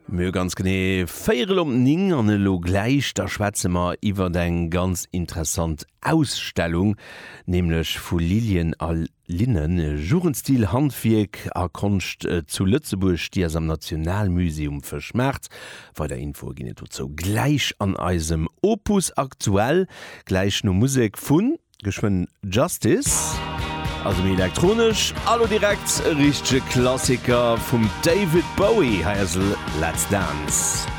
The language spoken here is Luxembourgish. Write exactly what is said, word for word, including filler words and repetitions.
Mir ganz genee véierel op néng an elo gläich da schwätze mer iwwer eng ganz interessant Ausstellung, nämlech vu Lilien a Linnen, Jugendstil, Handwierk a Konscht zu Lëtzebuerg, déi ass am Nationalmusée um Fëschmaart. Weider Infoe ginn et dozou gläich an eisem Opus Aktuell, gläich no Musek vun geschwënn Justice. Also méi elektronesch, elo direkt e richtege Klassiker vum David Bowie, hei ass Let's Dance.